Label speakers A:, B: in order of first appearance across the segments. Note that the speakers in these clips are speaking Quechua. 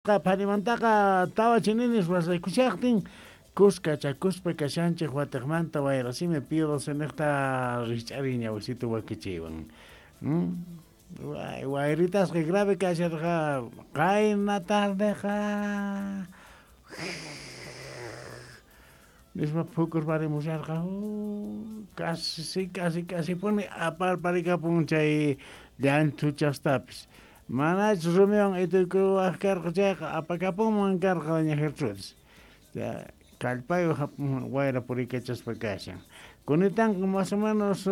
A: Phanimantaqa tawa chininis wasaykushaqtin kuskachakuspa kashanchik watiqmanta wayrasimi Pío XII niqta rikch'ariy ñawisitu wakichiywan. Wayritasqa grave kasharqa qayna tardeqa nispa phukurparimusharqa casi casi casi puni aparparikapun chay llanthuchastapis. Manachus rumiwan ituykuwaq karqa chayqa apakapunman karqa doña Gertrudis. Kallpayuq wayra puriykachaspa kashan. Kunitanqa más o menos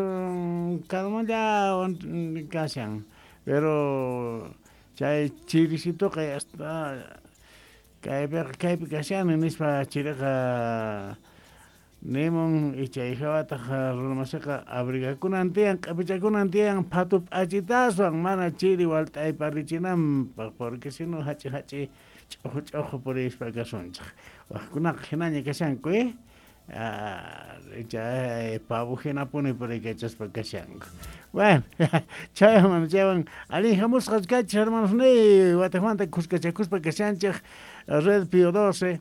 A: calmallawan kashan. Pero chay chirisituqa ya está kaypiqa kaypi kashani nispa chiriqa nimun y chay hawataq runamasiqa abrigakunan tiyan q'ipichakunan tiyan phatu p'achitaswan mana chiri walt'ayparichinanpaq porque si no hach'i hach'i ch'uqu ch'uqu purispa kasunchik. Waqkunaqa hinaña kashanku chay pavo hinapuni puriykachaspa kashanku. Bueno, chaywan chaywan allin hamusqas kachis hermanos niy watiqmanta kuskachakuspa kashanchik Red Pío XII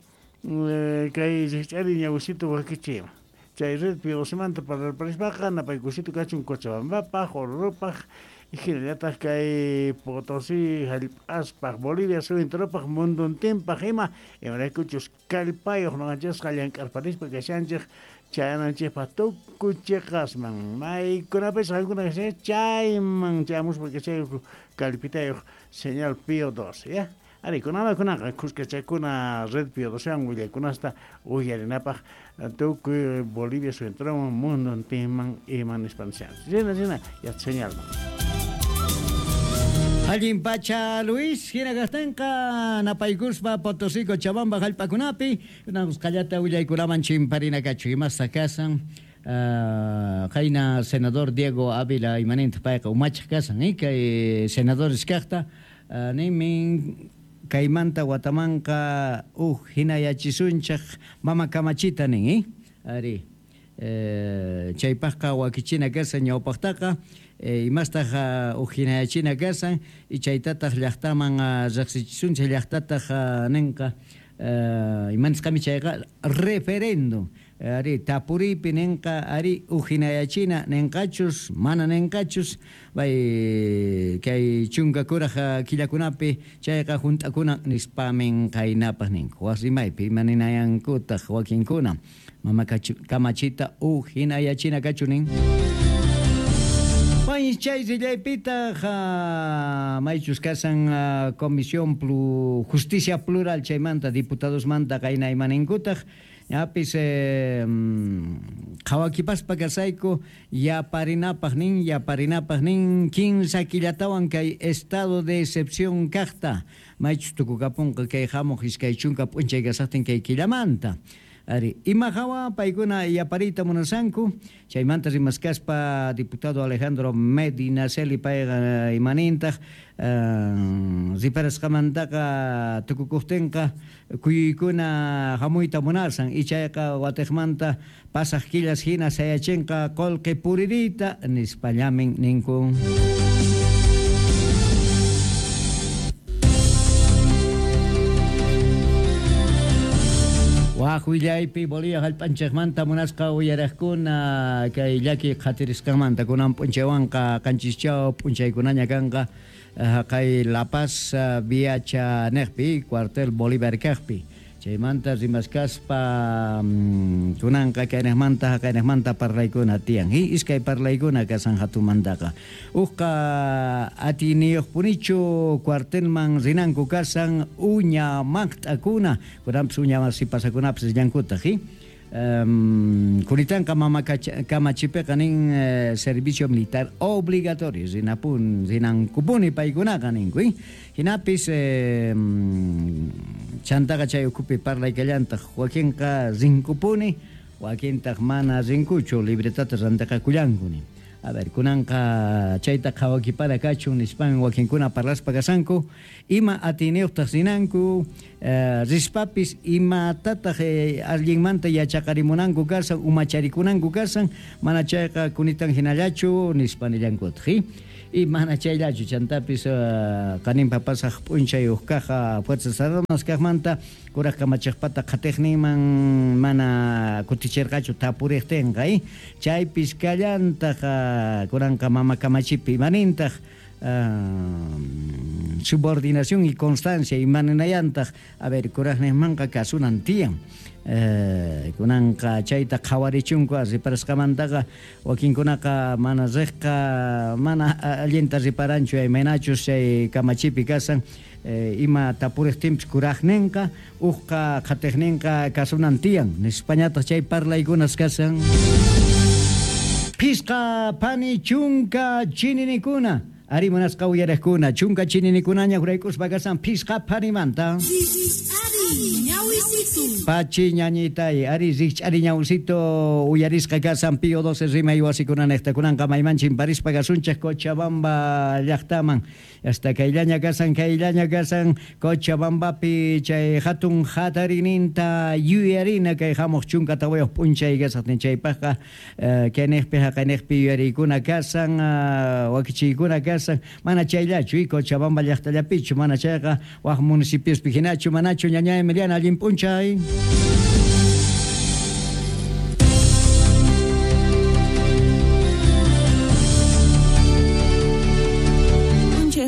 A: kay rikch'ari ñawisitu wakichiywan. Chay Red Pío XII manta parlarparispaqa napaykusitu kachun Cochabambapaq, Orurupaq hinallataq kay Potosí hallp'aspaq, Bolivia suyunturumpaq, munduntinpaq ima imaraykuchus kallpayuq ñuqanchisqa llank'arparispa kashanchik chayananchikpaq tukuy chiqasman maykunapis qankuna kashanchik chayman chayamuspa kashayku kallpitayuq señal Pío XII ya. Ari kunama kunaqa kuskachakuna Red Pío XII willaykunasta uyarinapaq tukuy Bolivia suyunturuman munduntinman ima nispa nishanchik. Rina rina ya señalman.
B: Allin pacha Luis, hina kaqtinqa napaykuspa Potosí Cochabamba hallp'akunapi kunanqallata willaykunaman chimparina kachu imasta kasan qayna senador Diego Ávila imanintaq payqa umachaq kasan kay senadores kaqta ninmin kaymanta watamanqa uj hinayachisunchik mama kamachita nin ari chaypaqqa wakichina kasan ñawpaqtaqa imastaq uj hinayachina kasan y chaytataq llaqtaman riqsichisunchik llaqtataq ninqa imanisqami chayqa referéndum ari tapuriypi ninqa ari uj hinayachina ninqachus mana ninqachus bay kay chunka kuraq killakunapi chayqa hunt'akuna nispamin qaynapaq ninku wasimaypi ima ninayankutaq wakinkuna mama kamachita uj hinayachina kachu nin. Chay rillaypitaq maychus kasan Comisión Justicia Plural chaymanta diputadosmanta qayna imaninkutaq ñapis qhawakipaspa kasayku yaparinapaq nin kinsa killatawan kay estado de excepción kaqta maychus tukukapunqa kay hamuq iskay chunka p'unchay kasaqtin kay killamanta. Ari, ima hawa paykuna yapariyta munasanku chaymanta rimaskaspa diputado Alejandro Medinaceli payqa imanintaq riparasqamantaqa tukukuqtinqa kuyuykuna hamuyta munasan y chayqa watiqmanta pasaq killas hina sayachinqa qullqi puririyta nispallamin ninku. Waq willaypi Bolivia hallp'anchikmanta munasqa uyariqkuna kay llaki qhatirisqanmanta kunan p'unchaywanqa qanchischaw p'unchaykunaña kanqa kay La Paz Viacha niqpi cuartel Bolívar kaqpi chaymanta rimaskaspa kunanqa kayniqmanta haqayniqmanta parlaykuna tiyan iskay parlaykuna kasan hatumantaqa uqqa atiyniyuqpunichu cuartelman rinanku kasan uña maqt'akuna kunanpis uña sipasakunapis rillankutaq Kunitanqa mama kamachipiqa nin servicio militar obligatorio rinapun rinankupuni paykunaqa ninku hinapis chantaqa chay ukhupi parlaykallantaq wakinqa rinkupuni wakintaq mana rinkuchu libretata rantiqakullanku nin. A ver, kunanqa chayta qhawakipara kachun nispan wakinkuna parlaspa kasanku ima atiyniyuqtaq rinanku rispapis imatataq allinmanta yachaqarimunanku kasan umacharikunanku kasan mana chayqa kunitan hinallachu nispa nillankutaq. Y mana chayllachu chantapis qaninpa pasaq p'unchay uqkaqa Fuerzas Armadas kaqmanta kuraq kamachiqpata qhatiqninman mana kutichirqachu tapuriqtinqa chaypis kallantaq kunanqa mama kamachipi imanintaq subordinación y constancia imaninayantaq a ver kuraqninmanqa kasunan tiyan kunanqa chayta qhawarichunku riparasqamantaqa wakinkunaqa mana riqqa mana allinta riparanchu imaynachus chay kamachipi kasan ima tapuriqtinpis kuraqninqa uqqa qhatiqninqa kasunan tiyan nispañataq chay parlaykunas kasan. Pisqa pani chunka chininikuna ari munasqa uyariqkuna chunka chininikunaña huraykuspa kasan pisqa panimanta. Pachi ñañitay ari rikch'ari ñawsito uyarisqa kasan Pío 12 rimay wasikunanejta kunanqa maymanchin parispa kasunchik Cochabamba llaqtaman hasta kayllaña kasan Cochabambapi chay hatun hatarininta yuyarina kay hamuq chunka tawayuq p'unchay kasaqtin chaypaqqa kayniqpi haqayniqpi yuyariykuna kasan wakichiykuna kasan mana chayllachu Cochabamba llaqtallapichu mana chayqa waq municipiospi hinachu manachu ñañay Emiliana allin p'unchay.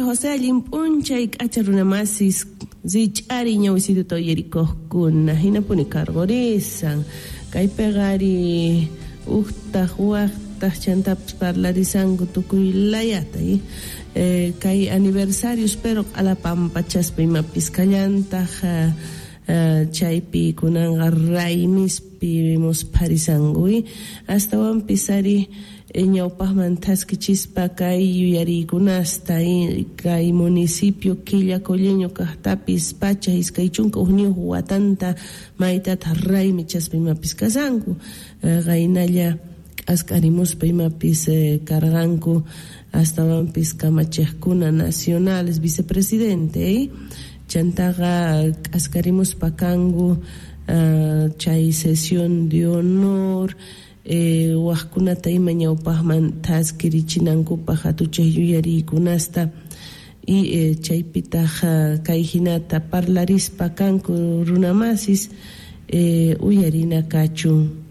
C: José allin p'unchay k'acha runamasis rich'ari ñawisituta uyarikuqkuna hinapuni cargorisan kaypiqa ari uqtaq waqtaq chantapis parlarisanku tukuy layata kay aniversarios pero q'alapampachaspa imapis kallantaq chaypi kunanqa raymispi muspharisanku astawanpis ari ñawpaqman thaskichispa kay yuyariykunasta kay municipio Quillacolleño kaqtapis pacha 21 watanta maytataq raymichaspa imapis kasanku qaynalla k'ask'arimuspa imapis karqanku astawanpis kamachiqkuna nacionales vicepresidente chantaqa k'askarimuspa kanku chay sesión de honor waqkunata ima ñawpaqman thaskirichinankupaq hatuchaq yuyariykunasta y chaypitaq kay hinata parlarispa kanku runamasis uyarina kachun.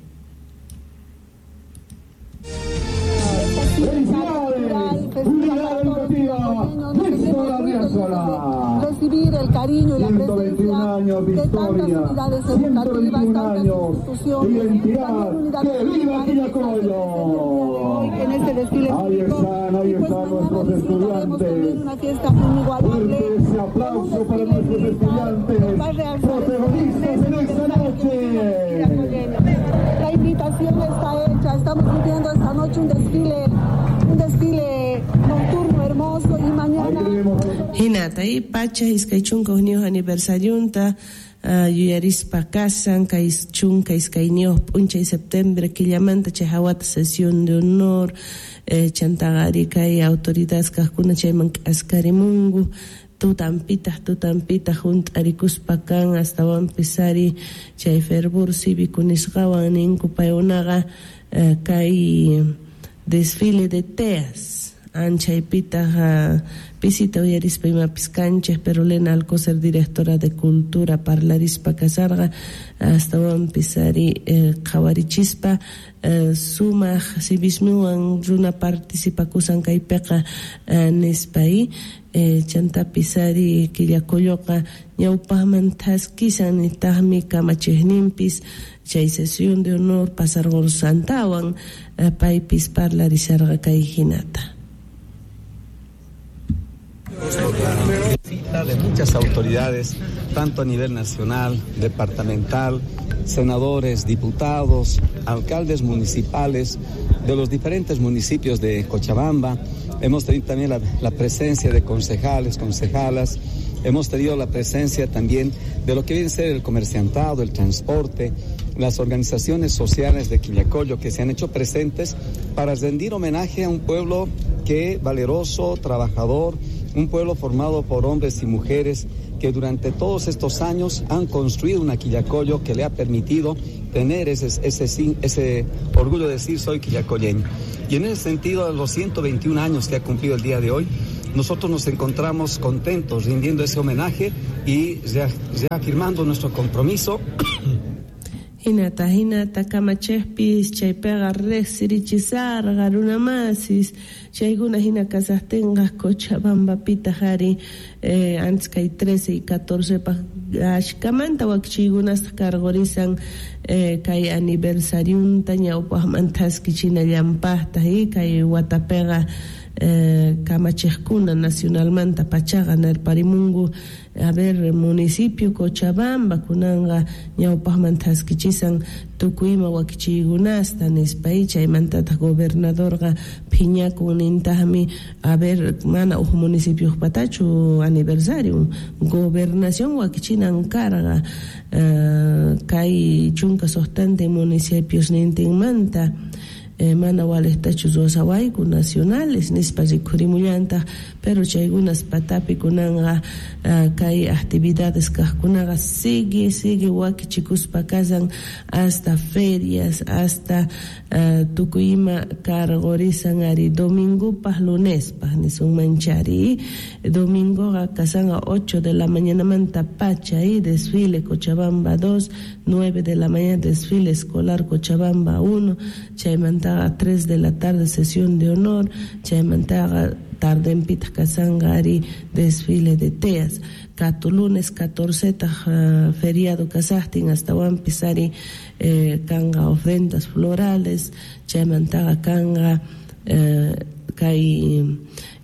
D: Recibir el cariño y la presencia de tantas unidades educativas, tantas instituciones, también unidades
E: ¡Que viva Quillacollo!
D: En este desfile
E: ahí están, ahí
D: y pues
E: están nuestros estudiantes.
D: Una fiesta inigualable.
E: Fuerte ese aplauso para nuestros estudiantes, protagonistas en esta noche.
D: La invitación está hecha, estamos viviendo esta noche un desfile nocturno hermoso y mañana.
C: Hinata y pacha 21 aniversariunta yuyarispa kasan kay 12 p'unchay septiembre killamanta chay hawata sesión de honor chantaqari kay autoridades kaqkuna chayman k'askarimunku tutampitaq hunt'arikuspa kan astawanpis ari chay fervor cívico nisqawan ninku paykunaqa kay desfile de teas anchaypitaq pisita uyarispa imapis kanchik pero Lena Alcocer directora de cultura parlarispa kasarqa astawanpis ari qhawarichispa sumaq civismuwan runa participakusan kaypiqa nispa chantapis ari Quillacolloqa ñawpaqman thaskisan nitaqmi kamachiqninpis chay sesión de honor pasarqursantawan paypis parlarisharqa kay hinata.
F: Cita de muchas autoridades, tanto a nivel nacional, departamental, senadores, diputados, alcaldes municipales de los diferentes municipios de Cochabamba. Hemos tenido también la presencia de concejales, concejalas. Hemos tenido la presencia también de lo que viene a ser el comerciantado, el transporte, las organizaciones sociales de Quillacollo que se han hecho presentes para rendir homenaje a un pueblo que valeroso, trabajador, Un pueblo formado por hombres y mujeres que durante todos estos años han construido una Quillacollo que le ha permitido tener ese orgullo de decir soy quillacolleño. Y en ese sentido, a los 121 años que ha cumplido el día de hoy, nosotros nos encontramos contentos rindiendo ese homenaje y reafirmando nuestro compromiso.
C: Hinata hinata kamachejpis chaypiqa riqsirichisarqa runamasis chaykuna hina kasaqtinqa Cochabambapitaq ari antes kay 13 y 14 paq ashkamanta wakichiykunasta karqurisan kay aniversariunta ñawpaqman thaskichinallanpaqtaq kay watapiqa kamachejkuna nacionalmanta pachaqa nirparimunku a ver municipio Cochabamba kunanqa ñawpaqman thaskichisan tukuy ima wakichiykunasta nispa chaymantataq gobernadorqa phiñakun nintaqmi a ver mana huk municipiojpatachu aniversario gobernación wakichinan karqa kay 16 municipios nintinmanta mana walejtachu ruwasawayku nacionales nispa rikhurimullantaj pero chaykunas patapi kunanqa kay actividades kaqkunaqa sigue wakichikuspa kasan hasta ferias hasta tukuy ima karqurisan ari domingopaq lunespaq nisunmanchari domingoqa kasanqa 8 de la mañanamanta pacha desfile Cochabamba 2, 9 de la mañana desfile escolar Cochabamba 1 chaymanta a 3 de la tarde sesión de honor, chaymantaqa tardenpitaq kasanqa ari desfile de teas, kato lunes 14 feriado kasaqtin astawanpis ari kanqa ofrendas florales, chaymantaqa kanqa kay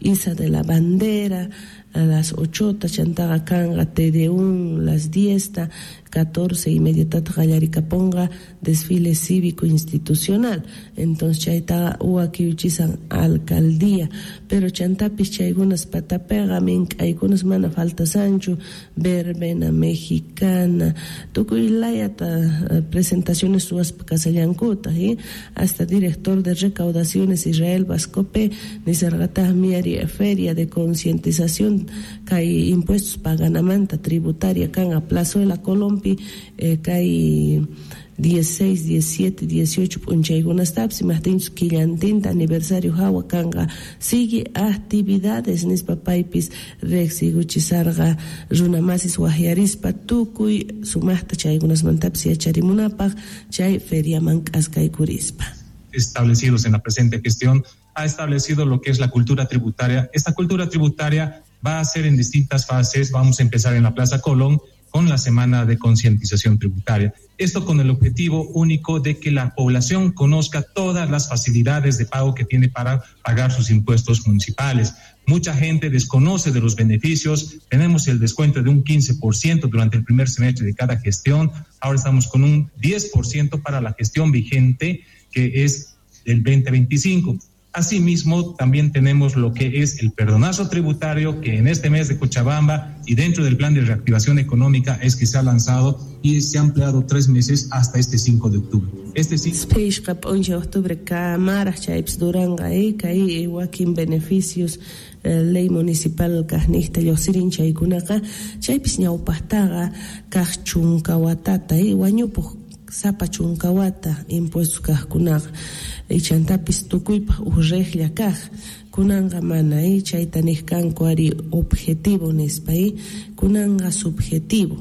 C: isa de la bandera a las 8 chantaqa kanqa TD1 las 10 14:30 tataq qallarikapunqa desfile cívico institucional. Entonces chaytaqa wakiuchisan alcaldía, pero chantapis chaykunas patapiqa mink'aykunas mana faltasanchu verbena mexicana tukuy layata presentaciones ruwaspa kasallankutaq hasta director de recaudaciones Israel Vascope nisarqataqmi ari feria de concientización kay impuestos paganamanta tributaria kanqa Plazuela Colompi kay 16, 17, 18 p'unchaykunastapis imaqtinchus killantinta aniversario hawa kanqa sigue actividades nispa paypis riqsiykuchisarqa runamasis waqyarispa tukuy sumaqta chaykunasmantapis yacharimunapaq chay feriaman k'askaykurispa.
G: Establecidos en la presente gestión ha establecido lo que es la cultura tributaria. Esta cultura tributaria va a ser en distintas fases. Vamos a empezar en la Plaza Colón con la semana de concientización tributaria. Esto con el objetivo único de que la población conozca todas las facilidades de pago que tiene para pagar sus impuestos municipales. Mucha gente desconoce de los beneficios. Tenemos el descuento de un 15% durante el primer semestre de cada gestión. Ahora estamos con un 10% para la gestión vigente, que es del 2025. Asimismo, también tenemos lo que es el perdonazo tributario, que en este mes de Cochabamba y dentro del plan de reactivación económica es que se ha lanzado y se ha ampliado 3 meses hasta este 5 de octubre. Este
C: 5 de octubre, kamaraj chaypis duranqa kay wakin beneficios ley municipal kaqniqta lluqsirin chaykunaqa chaypis ñawpaqtaqa kaq chunka watata wañupuq sapa chunka wata impuestos kaqkunaqa chantapis tukuypaq huk riqlla kaq kunanqa mana chayta niq kanku ari objetivo nispa kunanqa subjetivo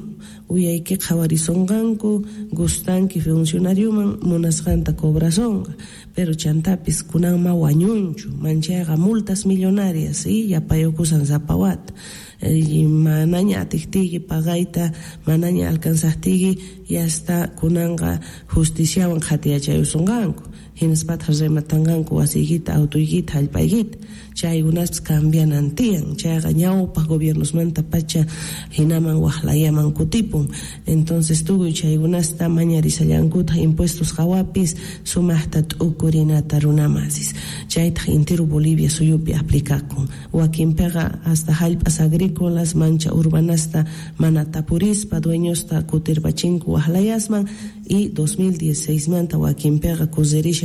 C: uyayki qhawarisonqanku gustanki funcionarioman munasqanta cobrasonqa pero chantapis kunanma wañunchu manchayqa multas millonarias yapayukusan sapa wata manaña atiqtiyki pagayta manaña alcanzaqtiyki yasta kunanqa justiciawan qhatiyachayusunqanku hinaspataq rematanqanku wasiykita autoykita hallp'aykita chaykunaspis cambianan tiyan chayqa ñawpaq gobiernosmanta pacha hinaman waqlayaman kutipun entonces tukuy chaykunasta mañarisallankutaq impuestos hawapis sumaqta t'ukurinata runamasis chaytaq intero Bolivia suyupi aplicakun wakinpiqa hasta hallp'as agrícolas mancha urbanasta mana tapurispa dueñosta kutirpachinku waqlayasman y 2016 manta wakinpiqa kusirishan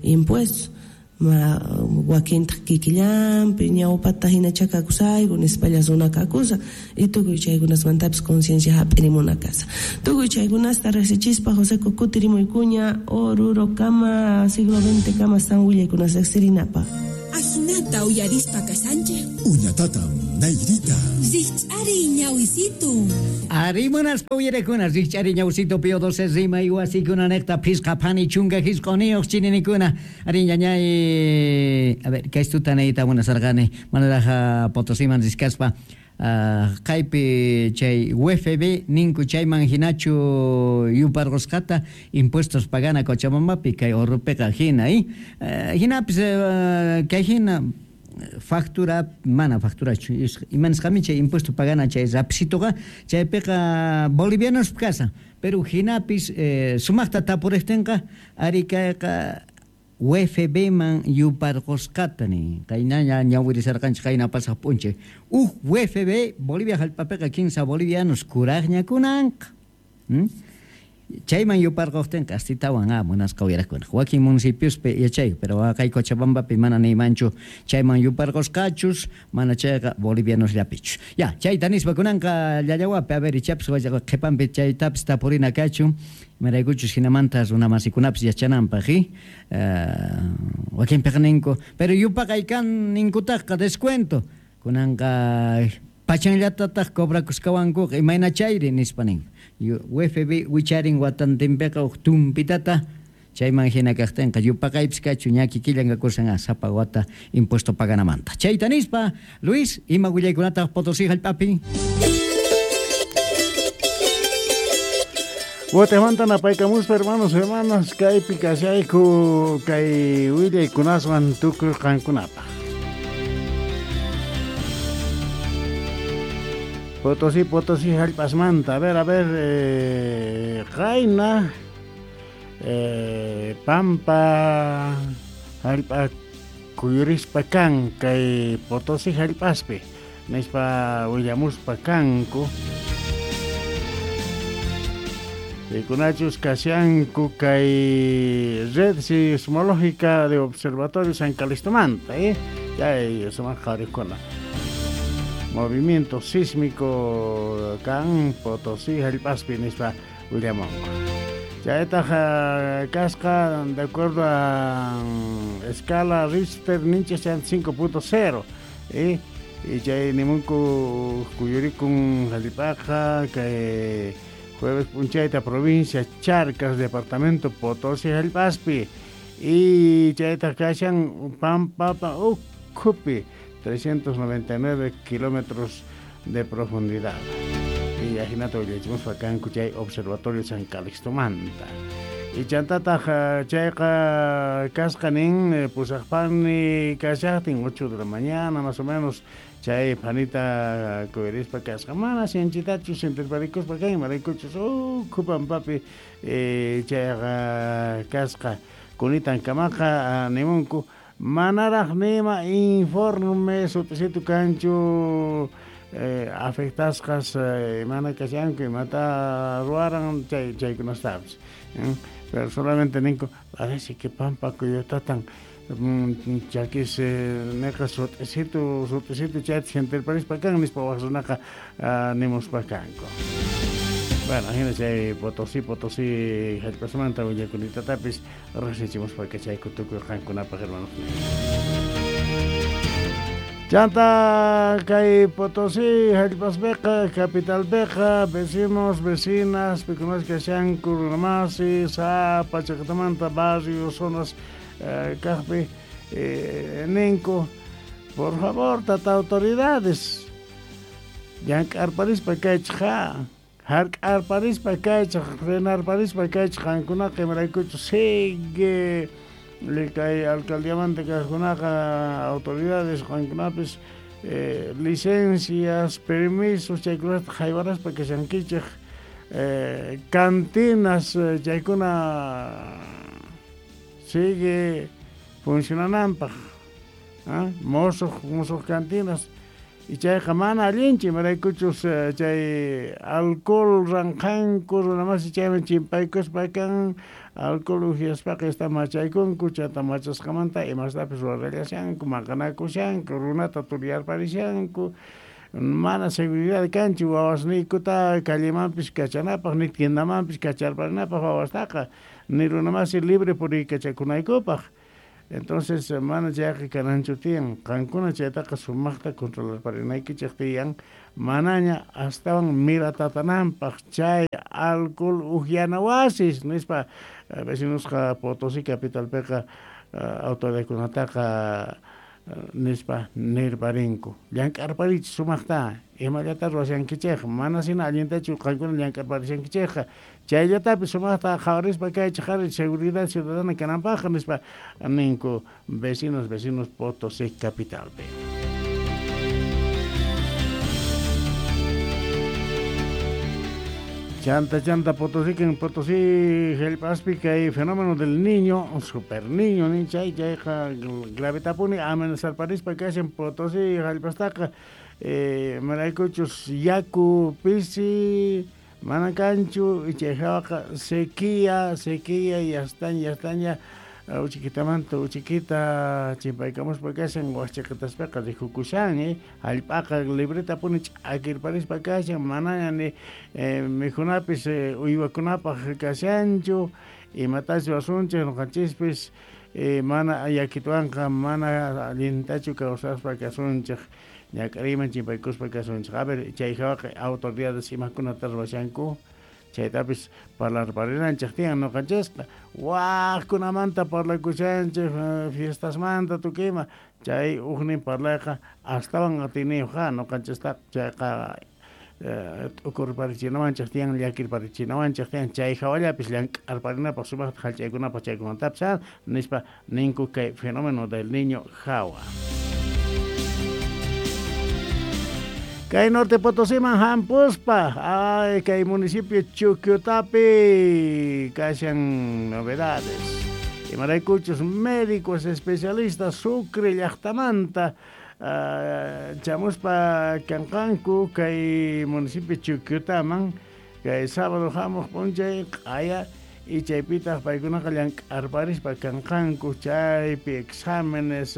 C: impuestos Ma wakintaq kikillanpi ñawpata hinacha kakusayku nispalla runa kakusa y tukuy chaykunasmantapis conciencia hap'irimuna kasa. Tukuy chaykunasta riqsichispa José kutirimuykuña Oruro kama siglo XX kama san willaykunas riqsirinapaq.
H: Ajinata uyarispa kashanchik.
I: Uñatatam nayrita.
H: Rikch'ari ñawisitu.
B: Arimunaspa uyarakuna rikch'ari ñawsito Pío 12 rima iwasikuna niqta phisqa phani chunka hisq'uniyuq chininikuna. Ari ñañay, a ver, kaystuta niyta munasarqani manaraq Potosiman riskaspa. Kaypi chay UFB ninku chayman hinachu yuparqusqata impuestos pagana Cochabambapi kay Orrupiqa hina hinapis kay hina factura mana facturachu imanisqami chay impuesto pagana chay rapsituqa chaypiqa bolivianos kasa pero hinapis sumaqta tapuriqtinqa ari kayqa UFB man yuparqusqata nin qaynaña ñawirisarqanchik qayna pasaq p'unchay uj UFB Bolivia hallp'apiqa 15 bolivianos kuraqñakunanqa chayman yuparquqtinqa astitawan munasqa uyaraqkuna wakin municipiospi yachayku pero kay Cochabambapi mana niymanchu chayman yuparqusqachus mana chayqa bolivianosllapichu ya chayta nispa kunanqa llallawapi a ver ichapis qhipanpi chaytapis tapurina kachun imaraykuchus hinamanta runamasikunapis yachananpaq wakinpiqa ninku pero yupaqay kan ninkutaqqa descuento kunanqa pachanllatataq cobrakusqawankuqa imayna chayri nispa ninku UFB wicharin watantinpiqa huk tumpitata chayman hina kaqtinqa yupaqaypis kachu ña kikillan kakusan sapa wata impuesto paganamanta chayta nispa Luis ima willaykunataq Potosí hallp'api.
A: Guatemala napaykamuspa hermanos hermanas kaypi kashayku kay willaykunaswan tukuy qankunapaq. Potosí, Potosí hallp'asmanta. A ver, qayna pampa hallp'a kuyurispa kan kay Potosí hallp'aspi nispa willamuspa kanku. Rikunachus kashanku kay red sismológica de Observatorio San Calistomanta, chay sumaq qharikuna. Movimiento sísmico kan Potosí hallp'aspi nispa willamunku. Chaytaq kasqa de acuerdo a escala Richter ninchis 5.0 y chay nimunku kuyurikun hallp'aqa kay jueves punchayta provincia Charcas departamento Potosí hallp'aspi y chaytaq kashan Pampapa ukhupi 399 kilómetros de profundidad. Y ajinata willachimuspa kanku chay Observatorio San Calixtomanta. Y chantataq chayqa kasqa nin pusaqpani kashaqtin 8 de la mañana más o menos chay panita kuyurispa kasqa mana sinchitachu sintirparikuspa kan imaraykuchus ukhu pampapi chayqa kasqa kunitan kamaqa nimunku manaraq nima informe sutisitu kanchu afectasqas mana kashanku imata ruwaran chaykunastapis pero solamente ninku parece que pampa kuyutatan chakis neqa sutisitu chayta sintirparispa kan nispa waq runaqa nimuspa kanku. Bueno, hina chay Potosí, Potosí hallp'asmanta willakunitatapis riqsichimuspa kachayku tukuy qankunapaq hermanos. Chanta kay Potosí hallp'aspiqa capitalpiqa vecinos, vecinas pikunas kashanku runamasi sapa chaqtamanta barrios, zonas kaqpi ninku por favor tata autoridades llank'arparispa kaychik ha hark'arparispa kaychik renarparispa kaychik qankunaqa imaraykuchu sigue kay alcaldiamanta kaqkunaqa autoridades qankunapis licencias, permisos chaykunata haywaraspa kashankichik cantinas chaykuna sigue funcionananpaq mosuq cantinas Y chayqa mana allinchu imaraykuchus chay alcohol ranqanku runamasi chayman chimpaykuspa kan alcohol uhyaspaqa esta machaykunku chanta machasqamanta imastapis ruwarallashanku maqanakushanku runata turyarparishanku mana seguridad kanchu wawasniykuta callemanpis kachanapaq ni tiendamanpis kacharparinapaq wawastaqa ni runamasi libre puriykachakunaykupaq. Entonces mana chayqa kananchu tiyan qankuna chaytaqa sumaqta controlarparinaykichik tiyan manaña astawan miratatananpaq chay alcohol uhyana wasis nispa vecinosqa Potosí capitalpiqa autoridadkunataqa nispa nirparinku llank'arparichik sumaqta imallata ruwashankichik mana sina allintachu qankuna llank'arparishankichikqa chayllatapis sumaqta qhawarispa kaychik ari seguridad ciudadana kananpaq nispa ninku vecinos Potosí capitalpi. Chanta Potosí en Potosí jallp'aspi kay fenómeno del niño, super niño ni chay chayqa gravetapuni amenazarparispa kashan Potosí jallp'astaqa maraykuchus yaku pisi mana kanchu y chay hawaqa sequía yastaña uchikitamanta uchikita chimpaykamuspa kashan waqchiqitaspaqa rikukushan jallp'aqa libretapuni ch'akirparispa kashan manaña ni mikhunapis uywakunapaq kashanchu imatachu asunchik ñuqanchispis mana yakituwanqa mana allintachu kawsaspa kasunchik ñak'ariyman chimpaykuspa kasunchik. A ver chay hawaqa autoridades imakunata ruwashanku chaytapis parlarparinanchik tiyan ñuqanchisqa waqkunamanta parlakushanchik fiestasmanta tukuyma chay ujnin parlayqa astawan atiniyuqqa ñuqanchistaqa chayqa t'ukurparichinawanchik tiyan llakirparichinawanchik tiyan chay hawallapis llank'arparinapaq sumaqta jallch'aykunapaq chaykunatapis nispa ninku kay fenómeno del niño hawa. Kay Norte Potosíman hampuspa, ay kay municipio Chuquiutapi kashan novedades. Imaraykuchus médicos especialistas Sucre llaqtamanta chamuspa kanqanku kay municipio Chuquiutaman kay sábado hamuq p'unchay q'aya y chaypitaq paykunaqa llank'arparispa kanqanku chaypi exámenes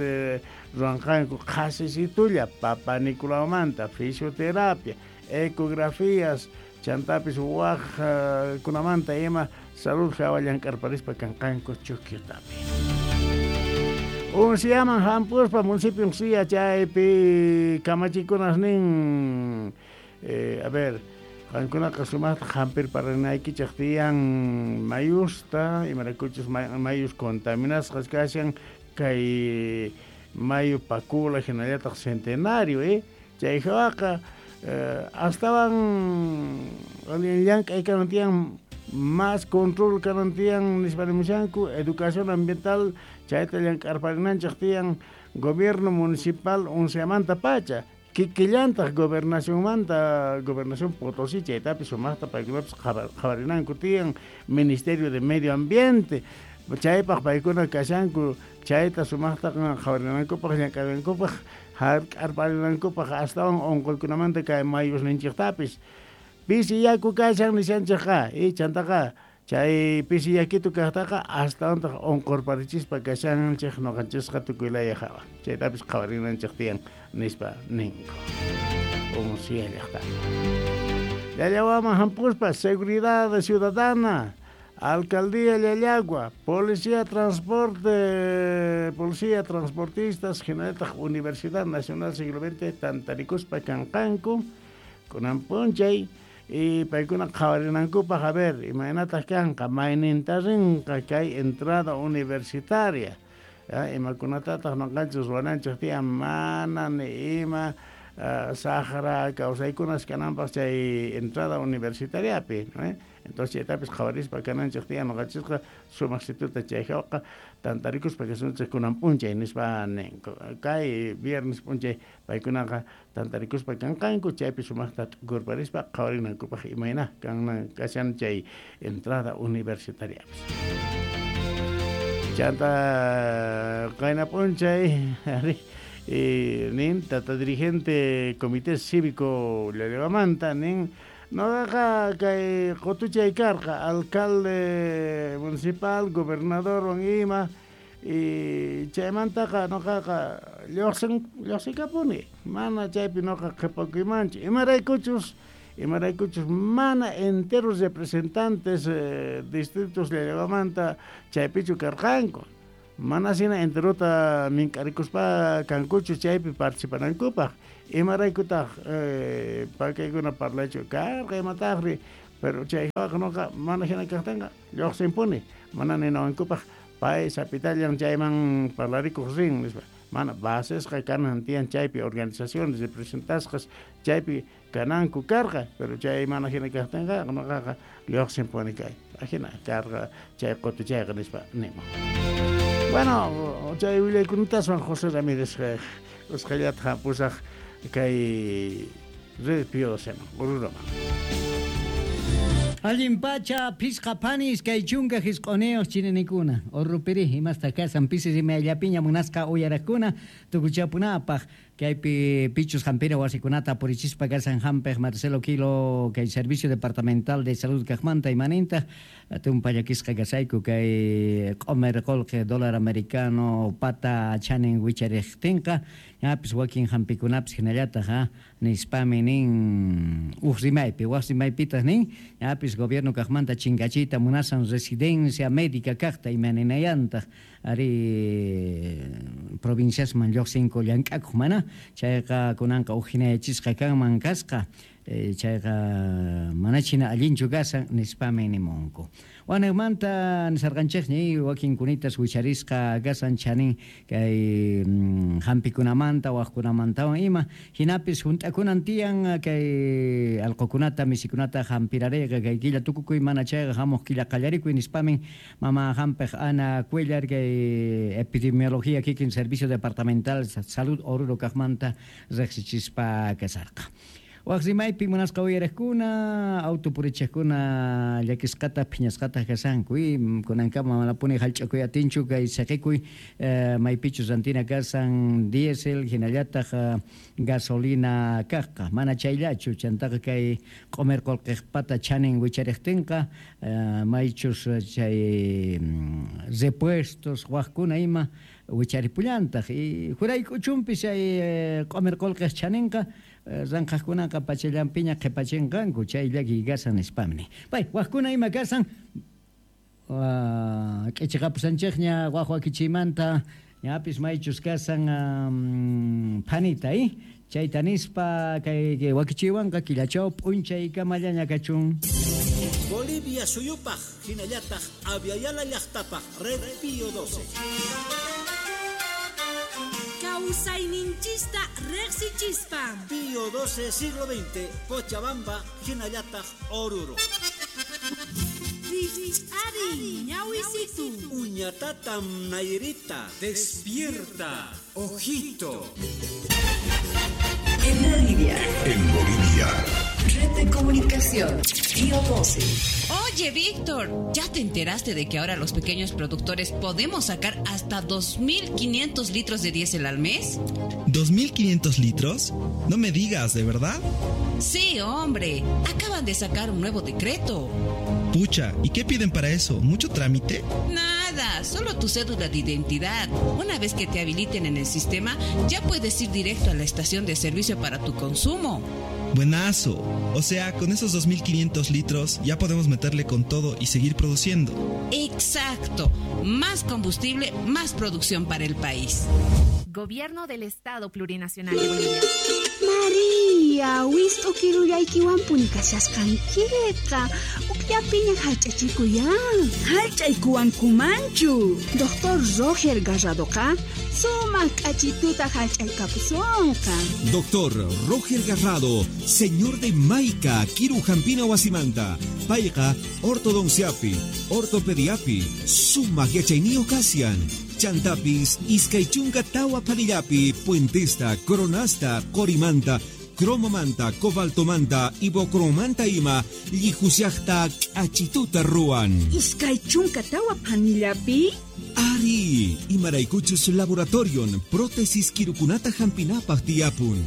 A: ruwanqanku qhasisitulla Papanicolaumanta fisioterapia ecografías chantapis waq kunamanta ima salud hawa llank'arparispa kanqanku Chuquiutapi. Unciaman hampuspa municipio Uncia chaypi kamachikunas nin a ver qankunaqa sumaqta hampirparinaykichik tiyan mayusta imaraykuchus mayus contaminasqas kashan kay mayu Pacula hinallataq Centenario chay hawaqa astawan allin llank'ay kanan tiyan más control kanan tiyan nispa nimushanku educación ambiental chayta llank'arparinanchik tiyan gobierno municipal Unciamanta pacha kikillantaq gobernacionmanta gobernación Potosí chaytapis sumaqta paykunapis qhawarinanku tiyan Ministerio de Medio Ambiente chaypaq paykuna kashanku chayta sumaqta qhawarinankupaq llank'arinankupaq hark'arparinankupaq astawan unquykunamanta kay mayusninchiktapis pisi yaku kashan nishanchikqa y chantaqa chay pisi yakitu kaqtaqa astawantaq unqurparichispa kashanchik ñuqanchisqa tukuylaya hawa chaytapis qhawarinanchik tiyan nispa ninku Uncia llaqta. Llallawaman hampuspa seguridad ciudadana Alcaldía Llallagua, Policía Transporte, Policía Transportistas, hinallataq Universidad Nacional Siglo XX, tantarikuspa kanqanku, kunan p'unchay y paykuna qhawarinankupaq a ver, imaynataq kanqa, mayninta rinqa kay entrada universitaria, imakunatataq ñuqanchis ruwananchik tiyan mana ni ima saqra kawsaykunas kananpaq chay entrada universitariapi, Entonces chaytapis qhawarispa kananchik tiyan ñuqanchisqa sumaq situta chay hawaqa tantarikuspa kasunchik kunan p'unchay nispa ninku kay viernes p'unchay paykunaqa tantarikuspa kanqanku chaypi sumaqta t'ukurparispa qhawarinankupaq imayna kanan kashan chay entrada universitariapis. Chanta qayna p'unchay Nin tata dirigente comité cívico Llallawamanta nin noqaqa kay qutuchay karqa alcalde municipal gobernador ima y chaymantaqa noqaqa lluqsinkapuni mana chaypi noqa qhipakuymanchu imaraykuchus mana enteros representantes distritos Llallawamanta chaypichu karqanku mana sina enterota mink'arikuspa kankuchu chaypi participanankupaq imaraykutaq pakaykuna parlaychu karqa imataqri pero chayqa noqa mana hina kaqtinqa lluqsinpuni mana ninawankupaq pay sapitallan chayman parlarikuq rin nispa mana basesqa kanan tiyan chaypi organizaciones representasqas chaypi kananku karqa pero chay mana hina kaqtinqa noqaqa lluqsinpuni kay ajina karqa chay qutuchayqa nispa niman. Bueno, chay willaykunataswan José Ramírez usqhayllata pusaq kay Red Pío XII Oruroman.
B: Allin pacha pisqa panis kay chunka hisq'uniyuq chininikuna Orurupiri imasta kasan pisi rimayllapiña munasqa uyaraqkuna tukuchapunapaq kaypi pichus hampina wasikunata purichispa kasan hampiq Marcelo Quilo kay Servicio Departamental de Salud kaqmanta imanintaq tumpa llakisqa kasayku kay q'umir qullqi dólar americano pata chanin wichariqtinqa ñapis wakin hampikunapis hinallataq nispami nin uj rimaypi waq rimaypitaq nin ñapis gobierno kaqmanta chinkachiyta munasan residencia médica kaqta imaninayantaq ari provinciasman lluqsinku llank'akuq mana chayqa kunanqa uj hinayachisqa kanman kasqa chayqa manachina allinchu kasan nispami nimunku. Wanaqmanta nisarqanchikñi wakin kunitas wicharisqa kasan chanin kay hampikunamanta waqkunamantawan ima hinapis hunt'akunan tiyan kay allqukunata misikunata hampirarayqa kay killa tukukuy mana chayqa hamuq killa qallarikuy nispamin mama hampiq Ana Cuellar kay epidemiología kikin Servicio Departamental Salud Oruro kaqmanta riqsichispa kasarqa. Waq rimaypi munasqa uyariqkuna auto purichiqkuna llakisqata phiñasqata kasanku kunankama manapuni hallch'akuy atinchu kay saqikuy maypichus rantina kasan diésel hinallataq gasolina kaqqa mana chayllachu chantaqa kay q'umir qullqiqpata chanin wichariqtinqa maychus chay repuestos waqkuna ima wicharipullantaq y jurayk'uchunpis chay q'umir qullqiq chaninqa ranqaqkunaqa pachallanpiña qhipachinqanku chay llakiy kasan nispamni. Pay waqkuna ima kasan k'ichiqapusanchikña waq wakichiymanta ñapis maychus kasan phanita chayta nispa kay wakichiywanqa killachaw p'unchaykamallaña kachun.
J: Bolivia suyupaq hinallataq Aviala llaqtapaq Red Pío XII.
H: Kawsayninchista riqsichispa.
J: Pío XII siglo XX, Cochabamba, hinallataq Oruro.
H: Ari, ñawisitu.
J: Uñatatam Nairita.
I: Despierta, ojito.
K: En Bolivia.
I: En Bolivia.
K: Red de comunicación, Pío XII.
L: Oye, Víctor, ¿ya te enteraste de que ahora los pequeños productores podemos sacar hasta 2.500 litros de diésel al mes?
M: ¿2.500 litros? No me digas, ¿de verdad?
L: Sí, hombre, acaban de sacar un nuevo decreto.
M: Pucha, ¿y qué piden para eso? ¿Mucho trámite?
L: Nada, solo tu cédula de identidad. Una vez que te habiliten en el sistema, ya puedes ir directo a la estación de servicio para tu consumo.
M: Buenazo. O sea, con esos 2.500 litros ya podemos meterle con todo y seguir produciendo.
L: Exacto. Más combustible, más producción para el país.
N: Gobierno del Estado Plurinacional de Bolivia.
O: María, wist'ukirullaykiwanpuni kashasqankiqa. Ukllapiña hallch'achikuyan.
H: Hallch'aykuwankumanchu.
O: Doctor Roger Garradoqa sumaq k'achituta hallch'aykapusunqa.
I: Doctor Roger Garrado, señor de Maica, Kiru Hampina Wasimanta, payqa ortodonciapi, ortopediapi, sumaq yachayniyo kasian. Chantapis, iskaychunka tawa panillapi, puentesta, coronasta, corimanta, cromomanta, cobaltomanta, ibocromanta ima, llihusiaqta k'achituta ruwan.
H: Iskaychunka tawa panillapi?
I: Ari, imaraykuchus laboratorion prótesis kirukunata hampinapaq tiyapun.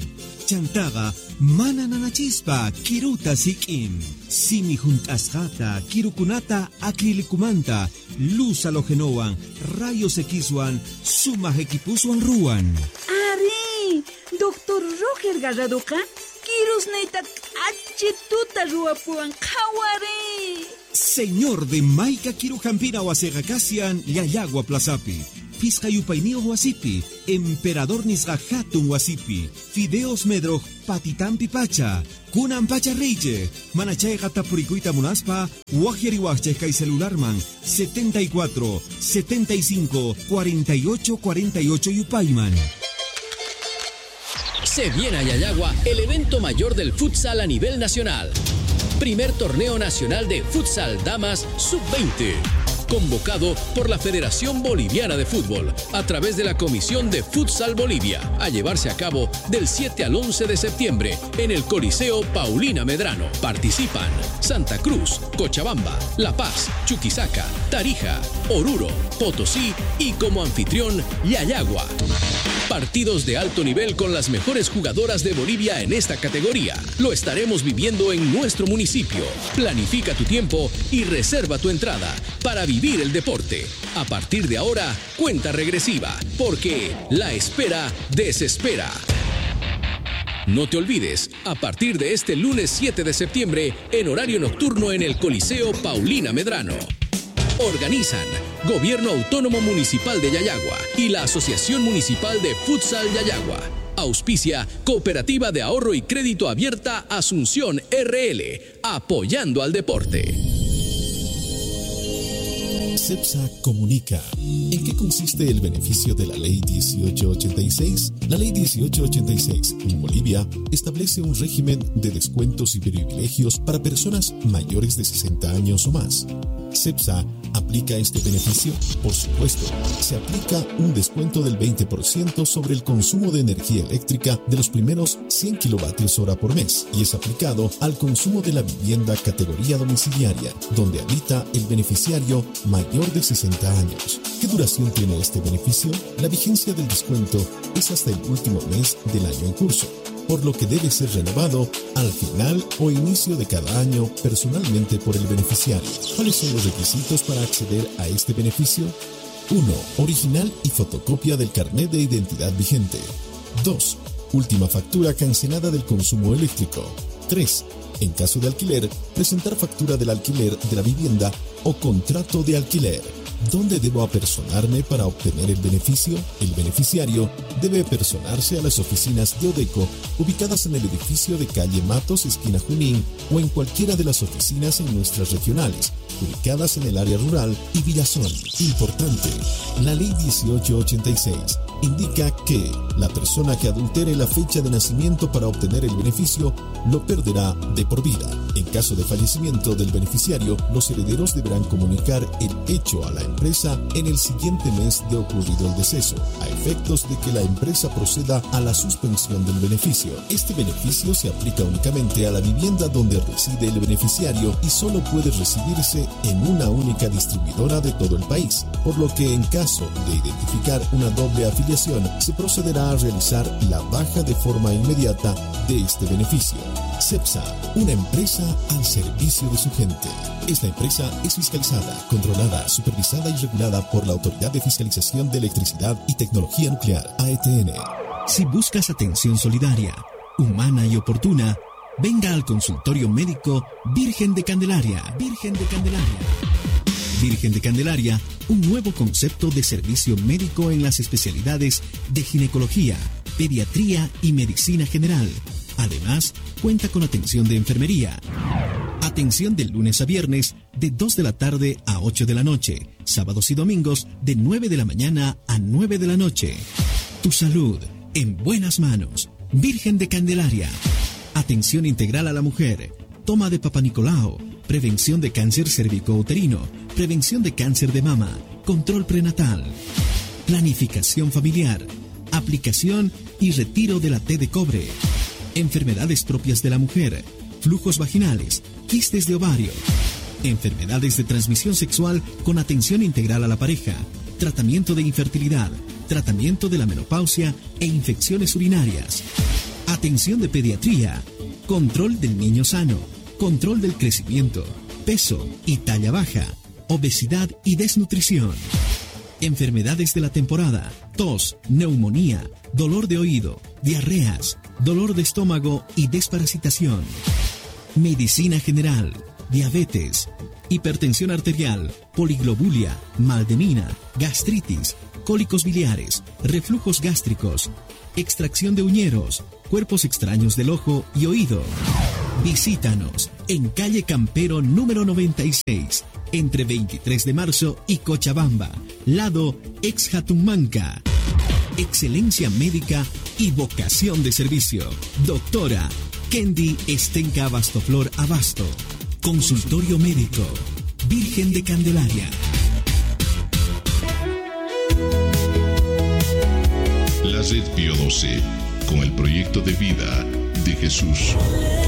I: Chantaqa mana nanachispa kiruta sik'in. Simi hunt'asqata kirukunata acrilikumanta luz halogenowan rayos Xwan sumaq equipuswan ruwan.
P: Ari, doctor Roger Garradoqa kirusniyta k'achituta ruwapuwan qhawari.
I: Señor de Maica Kirujampina wasiqa kashan Llallagua Plazapi, Pisqa yupayniyuq wasipi, Emperador nisqa hatun wasipi, Fideos Medroj patitampi pacha, kunan pacha riychej, mana chayqa tapurikuyta munaspa, waqyariwaqchej kay celularman 74 75 48 48 yupayman.
Q: Se viene a Llallagua el evento mayor del futsal a nivel nacional. Primer torneo nacional de futsal damas sub-20. Convocado por la Federación Boliviana de Fútbol a través de la Comisión de Futsal Bolivia, a llevarse a cabo del 7 al 11 de septiembre en el Coliseo Paulina Medrano. Participan Santa Cruz, Cochabamba, La Paz, Chuquisaca, Tarija, Oruro, Potosí y como anfitrión Llallagua. Partidos de alto nivel con las mejores jugadoras de Bolivia en esta categoría. Lo estaremos viviendo en nuestro municipio. Planifica tu tiempo y reserva tu entrada para vivir el deporte. A partir de ahora, cuenta regresiva, porque la espera desespera. No te olvides, a partir de este lunes 7 de septiembre, en horario nocturno en el Coliseo Paulina Medrano. Organizan Gobierno Autónomo Municipal de Llallagua y la Asociación Municipal de Futsal Llallagua. Auspicia Cooperativa de Ahorro y Crédito Abierta Asunción RL, apoyando al deporte.
R: CEPSA comunica. ¿En qué consiste el beneficio de la Ley 1886? La Ley 1886 en Bolivia establece un régimen de descuentos y privilegios para personas mayores de 60 años o más. ¿CEPSA aplica este beneficio? Por supuesto, se aplica un descuento del 20% sobre el consumo de energía eléctrica de los primeros 100 kilovatios hora por mes y es aplicado al consumo de la vivienda categoría domiciliaria, donde habita el beneficiario mayor de 60 años. ¿Qué duración tiene este beneficio? La vigencia del descuento es hasta el último mes del año en curso, por lo que debe ser renovado al final o inicio de cada año personalmente por el beneficiario. ¿Cuáles son los requisitos para acceder a este beneficio? 1. Original y fotocopia del carnet de identidad vigente. 2. Última factura cancelada del consumo eléctrico. 3. En caso de alquiler, presentar factura del alquiler de la vivienda o contrato de alquiler. ¿Dónde debo apersonarme para obtener el beneficio? El beneficiario debe personarse a las oficinas de Odeco ubicadas en el edificio de calle Matos, esquina Junín, o en cualquiera de las oficinas en nuestras regionales, ubicadas en el área rural y Villazón. Importante, la Ley 1886 indica que la persona que adultere la fecha de nacimiento para obtener el beneficio lo perderá de por vida. En caso de fallecimiento del beneficiario, los herederos deberán comunicar el hecho a la empresa en el siguiente mes de ocurrido el deceso, a efectos de que la empresa proceda a la suspensión del beneficio. Este beneficio se aplica únicamente a la vivienda donde reside el beneficiario y solo puede recibirse en una única distribuidora de todo el país, por lo que en caso de identificar una doble afiliación, se procederá a realizar la baja de forma inmediata de este beneficio. CEPSA, una empresa al servicio de su gente. Esta empresa es fiscalizada, controlada, supervisada y regulada por la Autoridad de Fiscalización de Electricidad y Tecnología Nuclear, AETN.
S: Si buscas atención solidaria, humana y oportuna, venga al consultorio médico Virgen de Candelaria. Virgen de Candelaria. Virgen de Candelaria, un nuevo concepto de servicio médico en las especialidades de ginecología, pediatría y medicina general. Además, cuenta con atención de enfermería. Atención de lunes a viernes de 2 de la tarde a 8 de la noche, sábados y domingos de 9 de la mañana a 9 de la noche. Tu salud en buenas manos. Virgen de Candelaria. Atención integral a la mujer. Toma de Papá Nicolau. Prevención de cáncer cervicouterino. Prevención de cáncer de mama. Control prenatal. Planificación familiar. Aplicación y retiro de la T de cobre. Enfermedades propias de la mujer. Flujos vaginales. Quistes de ovario. Enfermedades de transmisión sexual con atención integral a la pareja. Tratamiento de infertilidad, tratamiento de la menopausia e infecciones urinarias. Atención de pediatría, control del niño sano, control del crecimiento, peso y talla baja, obesidad y desnutrición. Enfermedades de la temporada, tos, neumonía, dolor de oído, diarreas, dolor de estómago y desparasitación. Medicina general, diabetes, hipertensión arterial, poliglobulia, mal de mina, gastritis, cólicos biliares, reflujos gástricos, extracción de uñeros, cuerpos extraños del ojo y oído. Visítanos en calle Campero número 96, entre 23 de marzo y Cochabamba, lado ex Jatunmanca. Excelencia médica y vocación de servicio. Doctora Kendi Estenka Abastoflor Abasto. Consultorio médico. Virgen de Candelaria.
R: La Red Pío 12, con el proyecto de vida de Jesús.